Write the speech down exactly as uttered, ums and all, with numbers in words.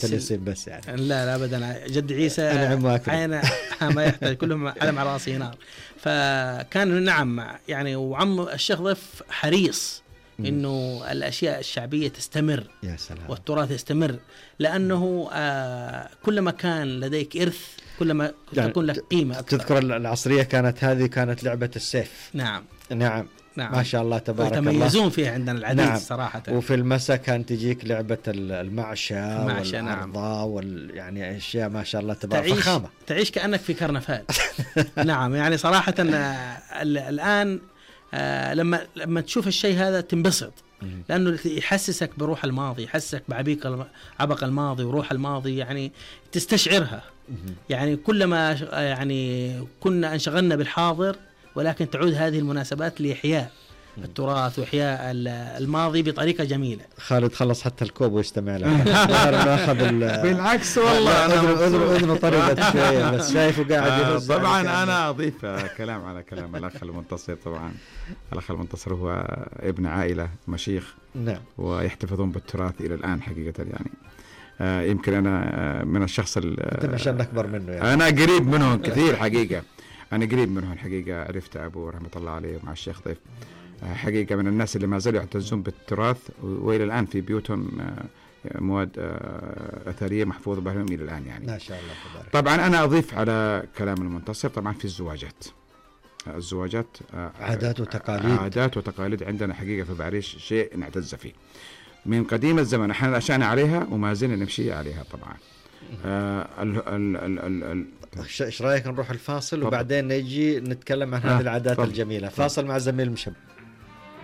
تلسين بس يعني. لا لا أبدا، جد عيسى عين ما يحتاج، كلهم علم على راسي نار. فكان نعم يعني، وعم الشيخ ضيف حريص إنه الأشياء الشعبية تستمر، يا سلام، والتراث يستمر، لأنه آه كلما كان لديك إرث كلما يعني تكون لك قيمة أكثر. تذكر العصرية كانت هذه كانت لعبة السيف. نعم نعم نعم، ما شاء الله تبارك الله، يتميزون فيها عندنا العديد. نعم. صراحة. وفي المساء كانت تجيك لعبة المعشى والعرضة. نعم. وال يعني أشياء ما شاء الله تبارك تعيش فخامة. تعيش كأنك في كرنفال. نعم يعني صراحة الآن لما لما تشوف الشيء هذا تنبسط، لأنه يحسسك بروح الماضي، يحسسك بعبيق عبق الماضي وروح الماضي، يعني تستشعرها. يعني كلما يعني كنا انشغلنا بالحاضر، ولكن تعود هذه المناسبات لإحياء التراث وإحياء الماضي بطريقة جميلة. خالد خلص حتى الكوب ويستمع له. ناخذ بالعكس والله أنا أذن أذن طريقة شوية بس شايفه قاعد يفز. طبعا أنا أضيف كلام على كلام الأخ المنتصر. طبعا الأخ المنتصر هو ابن عائلة مشيخ، نعم، ويحتفظون بالتراث إلى الآن حقيقة. يعني آه يمكن أنا آه من الشخص أنت عشان أكبر منه يعني. أنا قريب منهم كثير حقيقة. أنا قريب منهم الحقيقة. عرفت أبو رحمة الله عليه مع الشيخ ضيف حقيقة من الناس اللي ما زالوا يعتزون بالتراث، وإلى الآن في بيوتهم مواد أثرية محفوظة بهم إلى الآن يعني. ما شاء الله تبارك. طبعا أنا أضيف على كلام المنتصر، طبعا في الزواجات. الزواجات عادات وتقاليد. عادات وتقاليد عندنا حقيقة في بعريش شيء نعتز فيه من قديم الزمن. احنا نشأنا عليها وما زلنا نمشي عليها طبعا. آه ال ال ال ال ال ايش رايك نروح الفاصل وبعدين نجي نتكلم عن هذه العادات الجميلة. فاصل مع زميل مشب.